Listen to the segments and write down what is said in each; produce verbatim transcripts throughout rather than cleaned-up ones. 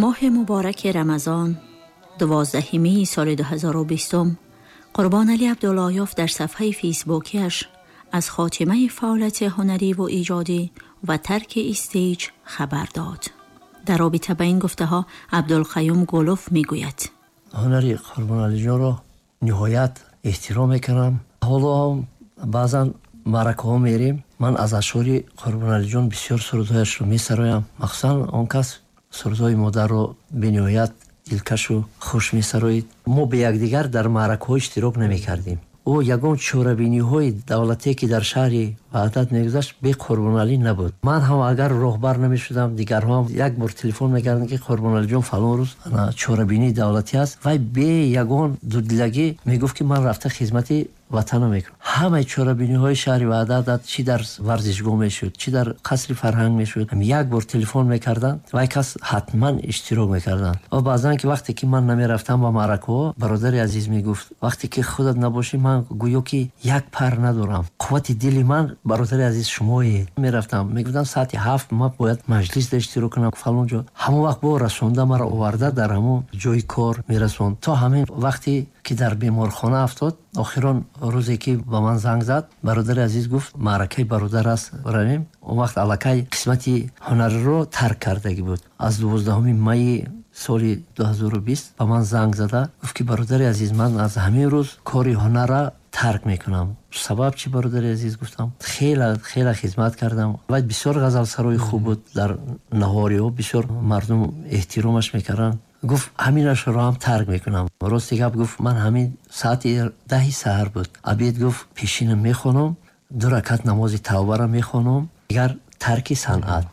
Моҳи мубораки Рамазон, дувоздаҳуми май соли ду ҳазору бистум, Қурбоналӣ Абдуллоёв дар сафҳаи фейсбукиаш аз хотимаи фаъолияти ҳунарӣ ва эҷодӣ ва тарки stage хабар дод. Дар робита ба ин гуфтаҳо Абдулқаюм Гулов мегӯяд: Ҳунари Қурбоналиҷонро ниҳоят эҳтиром мекунам. Ҳоло ҳам баъзан маъракаҳо мерем, ман аз ашъори Қурбоналиҷон бисёр сурудҳояшро месароям. Махсусан он кас сурудҳои модарро бениҳоят дилкашу хуш месароид. Мо бе якдигар дар маъракаҳо иштирок намекардем. Ӯ ягон чорабиниҳои давлатие, ки дар шаҳри Ваҳдат мегузашт, бе Қурбоналӣ набуд. Ман ҳам агар роҳбар намешудам, дигарҳоам як бор телефон мекарданд, ки Қурбоналиҷон, фалон рӯз чорабинии давлатӣ аст. Вай бе ягон дудилагӣ мегуфт, ки ман рафта хизмати ватанро мекунам. Ҳамаи чорабиниҳои шаҳри Ваҳдат, чӣ дар варзишгоҳ мешуд, чӣ дар қасри фарҳанг мешуд, як бор телефон мекарданд, вай кас ҳатман иштирок мекарданд. Ва баъзан ки вақте ки ман намерафтам ба маъракаҳо, бародари азиз мегуфт: «Вақте ки худат набошӣ, ман гӯё ки як пар надорам. Қуввати дили ман, бародари азиз, шумоед». Мерафтам, мегуфтам: «Саати ҳафт ман бояд маҷлис иштирок кунам фалон ҷо». Ҳамон вақт бо расонда маро оварда дар ҳамон ҷои кор мерасонд, то ҳамин вақте ки дар беморхона афтод. Охирон рӯзе ки ба ман занг зад, бародари азиз гуфт: «Маъракаи бародар аст, равем». Он вақт аллакай қисмати ҳунарро тарк кардагӣ буд. Аз дувоздаҳуми майи соли дуҳазору бист ба ман занг зада гуфт, ки бародари азиз, ман аз ҳамин рӯз кори ҳунарра тарк мекунам. Сабаб чӣ, бародари азиз, гуфтам. Хеле хеле хизмат кардам. Вай бисёр ғазалсарои хуб буд, дар наҳориҳо бисёр мардум эҳтиромаш мекарданд. Гуфт: «Ҳаминашро ҳам тарк мекунам». Рости гап, гуфт, ман ҳамин саати даҳи саҳар буд, обед, гуфт, пешина мехонам, ду ракат намози тавбаро мехонам, дигар тарки санъат.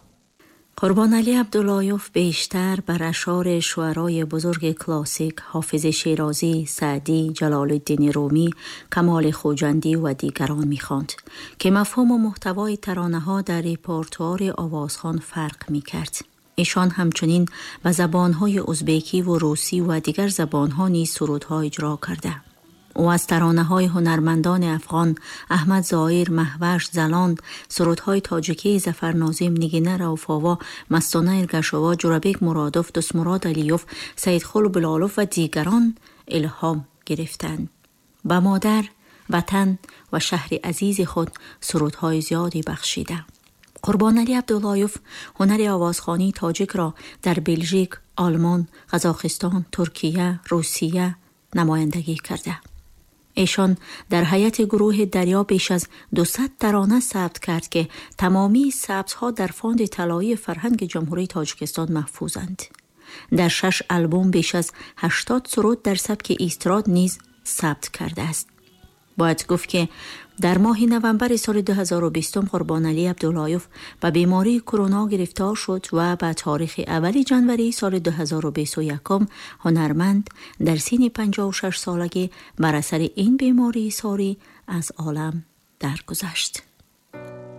Қурбоналӣ Абдуллоёв бештар бар ашъори шуарои бузурги классик Ҳофизи Шерозӣ, Саъдӣ, Ҷалолиддини Румӣ, Камоли Хуҷандӣ ва дигарон мехонд, ки мафҳуму муҳтавои таронаҳо дар репертуари овозхон фарқ мекард. Эшон ҳамчунин ба забонҳои узбекӣ ва русӣ ва дигар забонҳо низ сурудҳо иҷро карда. Ӯ аз таронаҳои ҳунармандони афғон Аҳмад Зоир, Маҳваш, Залонд, сурудҳои тоҷикии Зафар Нозим, Нигина Рауфова, Мастона Эргашова, Ҷурабек Муродов, Дӯстмурод Алиёв, Саидқул Билолов ва дигарон илҳом гирифтанд. Ба модар, ватан ва шаҳри азизи худ сурудҳои зиёде бахшида. Қурбоналӣ Абдуллоёв ҳунари овозхонии тоҷикро дар Белжик, Олмон, Қазоқистон, Туркия, Русия намояндагӣ карда. Эшон дар ҳайати гурӯҳи Дарё беш аз дусад тарона сабт кард, ки тамомии сабтҳо дар фонди талоии фарҳанги Ҷумҳурии Тоҷикистон маҳфузанд. Дар шаш албом беш аз ҳаштод суруд дар сабки эстрад низ сабт кардааст. Бояд гуфт, ки дар моҳи новамбари соли ду ҳазору бистум Қурбоналӣ Абдуллоёв ба бемории корона гирифтор шуд ва ба таърихи аввали ҷанвари соли ду ҳазору бисту якум ҳунарманд дар синни панҷоҳу шаш солагӣ бар асари ин бемории сорӣ аз олам даргузашт.